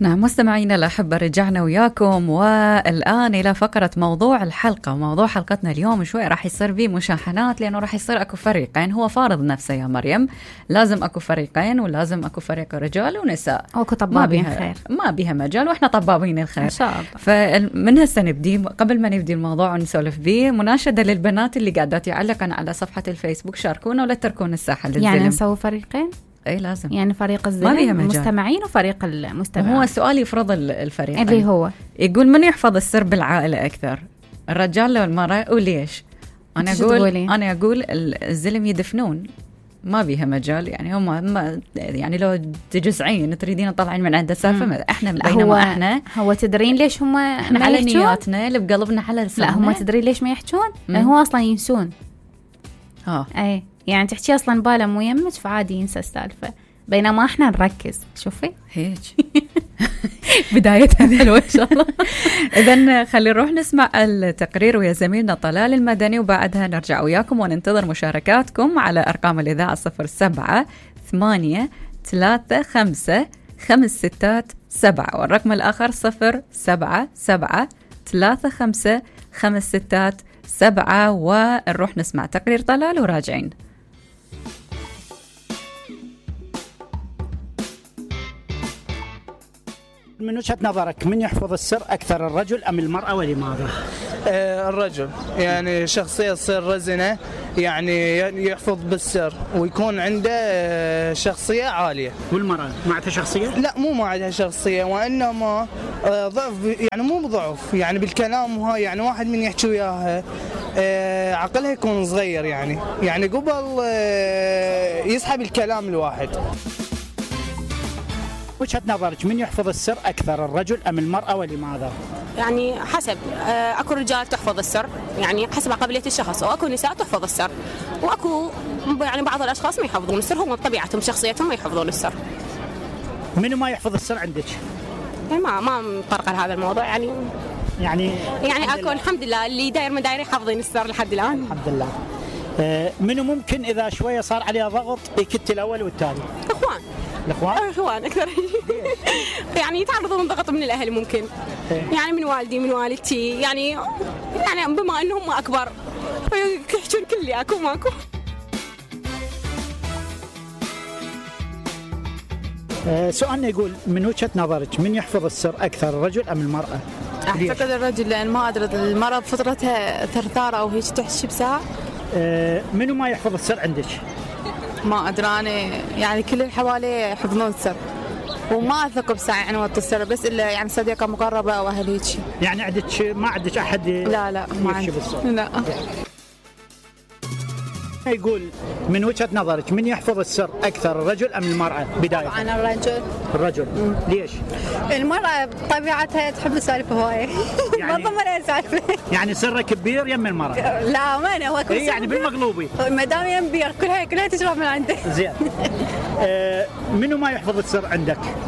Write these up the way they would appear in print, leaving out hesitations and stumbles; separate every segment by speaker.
Speaker 1: نعم مستمعينا الأحبة، رجعنا وياكم والآن إلى فقرة موضوع الحلقة. وموضوع حلقتنا اليوم شوي راح يصير به مشاحنات، لأنه راح يصير أكو فريقين. هو فارض نفسه يا مريم، لازم أكو فريقين ولازم أكو فريق رجال ونساء.
Speaker 2: أكو طبابين خير،
Speaker 1: ما بيها مجال، وإحنا طبابين الخير
Speaker 2: إن شاء الله.
Speaker 1: فمن هسه نبدي، قبل ما نبدي الموضوع ونسولف به، مناشدة للبنات اللي قاعدات يعلقن على صفحة الفيسبوك، شاركونا ولا تتركون الساحة للزلم.
Speaker 2: يعني نسوي فريقين؟
Speaker 1: اي لازم،
Speaker 2: يعني فريق الزلم المستمعين وفريق المستمعين.
Speaker 1: هو السؤال يفرض الفريق
Speaker 2: اللي هو
Speaker 1: يقول من يحفظ السر بالعائلة أكثر، الرجال ولا المرأة؟ وليش؟ أنا أقول الزلم يدفنون، ما بيها مجال. يعني هم يعني لو تجزعين تريدين تطلعين من عنده سالفة، احنا بينما احنا
Speaker 2: هو تدرين ليش هم ما
Speaker 1: على
Speaker 2: يحجون؟
Speaker 1: نياتنا اللي بقلبنا على لساننا.
Speaker 2: لا هم تدرين ليش ما يحجون؟ لأن هو أصلا ينسون. اي يعني تحكي أصلا باله مو يمك، فعادي ينسى السالفة، بينما احنا نركز. شوفي
Speaker 1: هيك بدايتها حلوة إن شاء الله. إذن خلي نروح نسمع التقرير ويا زميلنا طلال المدني، وبعدها نرجع وياكم وننتظر مشاركاتكم على أرقام الإذاعة 07-835-567 والرقم الآخر 077-35-567. ونروح نسمع تقرير طلال وراجعين.
Speaker 3: من وجهة نظرك من يحفظ السر أكثر، الرجل أم المرأة، ولماذا؟
Speaker 4: الرجل، يعني شخصية تصير رزنة، يعني يحفظ بالسر ويكون عنده شخصية عالية.
Speaker 3: والمرأة ما عندها شخصية؟
Speaker 4: لا مو ما عندها شخصية، وإنما ضعف، يعني مو بضعف، يعني بالكلام. وهاي يعني واحد من يحكي وياها عقلها يكون صغير، يعني قبل يسحب الكلام الواحد.
Speaker 3: وجهة نظرك من يحفظ السر أكثر، الرجل أم المرأة، ولماذا؟
Speaker 5: يعني حسب، أكو رجال تحفظ السر يعني حسب قابلية الشخص، وأكو نساء تحفظ السر، وأكو يعني بعض الأشخاص ما يحفظون السر، هم بطبيعتهم شخصيتهم ما يحفظون السر.
Speaker 3: منو ما يحفظ السر عندك؟
Speaker 5: يعني ما مطرقة لهذا الموضوع. يعني أكو الحمد لله اللي داير من داير يحفظين السر لحد الآن.
Speaker 3: الحمد لله. منو ممكن إذا شوية صار عليه ضغط يكت الأول والثاني؟
Speaker 5: الأخوان أكثر. يعني يتعرضون ضغط من الأهل ممكن، يعني من والدي من والدتي، يعني بما أنهم أكبر يحجون كل اللي أكو ماكو.
Speaker 3: سؤالنا يقول من وجهة نظرك من يحفظ السر أكثر، الرجل أم المرأة؟
Speaker 6: أعتقد الرجل، لأن ما أدري المرأة بفطرتها ثرثارة أو هيك تحشي بساعة.
Speaker 3: منو ما يحفظ السر عندك؟
Speaker 6: ما أدري أنا، يعني كل اللي حوالي يحفظون السر، وما أثق بساعة يعني وقت السر، بس إلا يعني صديقة مقربة أو أهل هيك.
Speaker 3: يعني ما عندك أحد؟
Speaker 6: لا ما عندي. لا.
Speaker 3: يقول من وجهة نظرك من يحفظ السر أكثر، الرجل أم المرأة؟ بداية
Speaker 7: طبعا
Speaker 3: الرجل. ليش؟
Speaker 7: المرأة بطبيعتها تحب السالفة هواية. ما ضمن سالفة.
Speaker 3: يعني سرك كبير يم المرأة؟
Speaker 7: لا ما أنا، هو
Speaker 3: يعني بالمغلوبي
Speaker 7: ما دام يم بير كلها تشرب من عنده.
Speaker 3: زين. منو ما يحفظ السر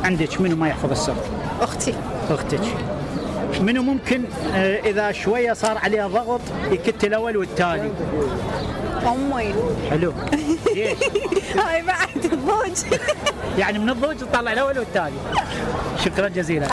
Speaker 3: عندك منو ما يحفظ السر؟ أختك. منو ممكن إذا شوية صار عليه ضغط يكت الأول والثاني؟
Speaker 7: أمي.
Speaker 3: حلو. ليش؟
Speaker 7: هاي بعد الضوج.
Speaker 3: يعني من الضوج تطلع الأول والثاني. شكرا جزيلا.